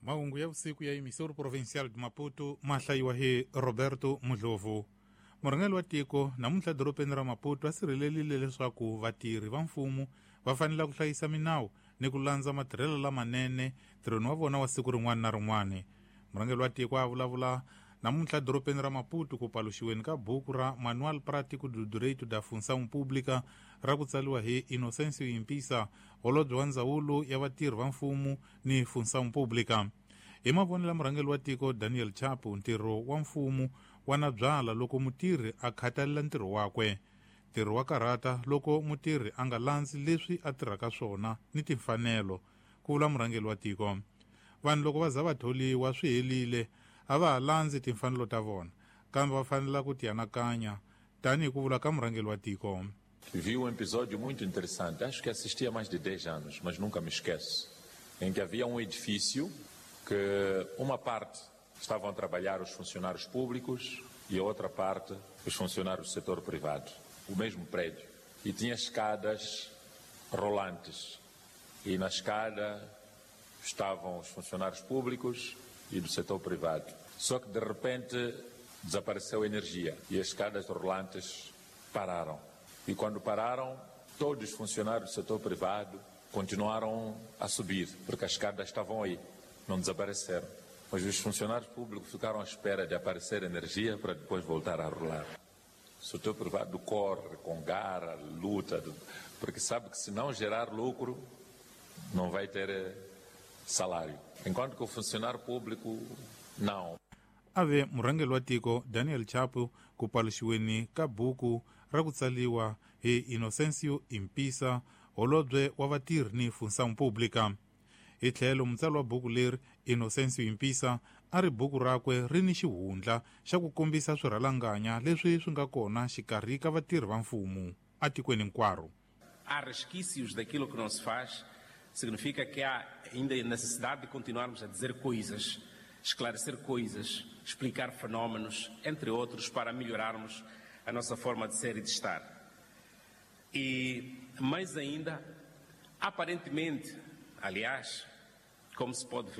Mahungu ya vusiku ya emissora provincial de Maputo ma hlayiwa hi Roberto Mudlovu. Murhangeri wa tiko namuntlha dorobeni ra Maputo a sirhelelile leswaku vatirhi va mfumo va fanele ku hlayisa minawu ni ku landza matirhelo lamanene ntirhweni wa vona wa siku rin'wana na rin'wana. Murhangeri wa tiko a vulavula namuntlha dorobeni ra Maputo ku paluxiweni ka buku ra Manual Prático do Direito da Função Pública ra ku tsariwa hi Inocêncio Impisa, holobye wa ndzawulo ya vatirhi va mfumo ni Função Pública. Hi mavonelo ya murhangeri wa tiko Daniel Chapo, ntirho wa mfumo wa na byala loko mutirhi a khathalela ntirho wakwe. Ntirho wa karhata loko mutirhi a nga landzi leswi a tirhaka swona ni timfanelo, ku vula murhangeri wa tiko. Vanhu loko va za va tholiwa swi helile, a va ha landzi timfanelo ta vona, kambe va fanela ku tianakanya, tanihi ku vula ka murhangeri wa tiko. Vi um episódio muito interessante, acho que assisti há mais de 10 anos, mas nunca me esqueço, em que havia um edifício que uma parte estavam a trabalhar os funcionários públicos e a outra parte os funcionários do setor privado, o mesmo prédio. E tinha escadas rolantes. E na escada estavam os funcionários públicos e do setor privado. Só que de repente desapareceu a energia e as escadas rolantes pararam. E quando pararam, todos os funcionários do setor privado continuaram a subir, porque as escadas estavam aí, não desapareceram. Mas os funcionários públicos ficaram à espera de aparecer energia para depois voltar a rolar. O setor privado corre com garra, luta, porque sabe que se não gerar lucro, não vai ter salário. Enquanto que o funcionário público, não. Ave murhangeri wa tiko Daniel Chapo ku paluxiweni ka buku ra ku tsariwa hi Inocêncio Impisa, holobye wa vatirhi ni Função Pública. Hi tlhelo mutsari wa buku leri Inocêncio Impisa a ri buku rakwe ri ni xihundla xa ku kombisa swirhalanganya leswi swi nga kona xikarhi ka vatirhi va mfumo atikweni hinkwaro. Há resquícios daquilo que não se faz, significa que há ainda a necessidade de continuarmos a dizer coisas, esclarecer coisas, explicar fenómenos, entre outros, para melhorarmos a nossa forma de ser e de estar. E, mais ainda, aparentemente, aliás, como se pode ver,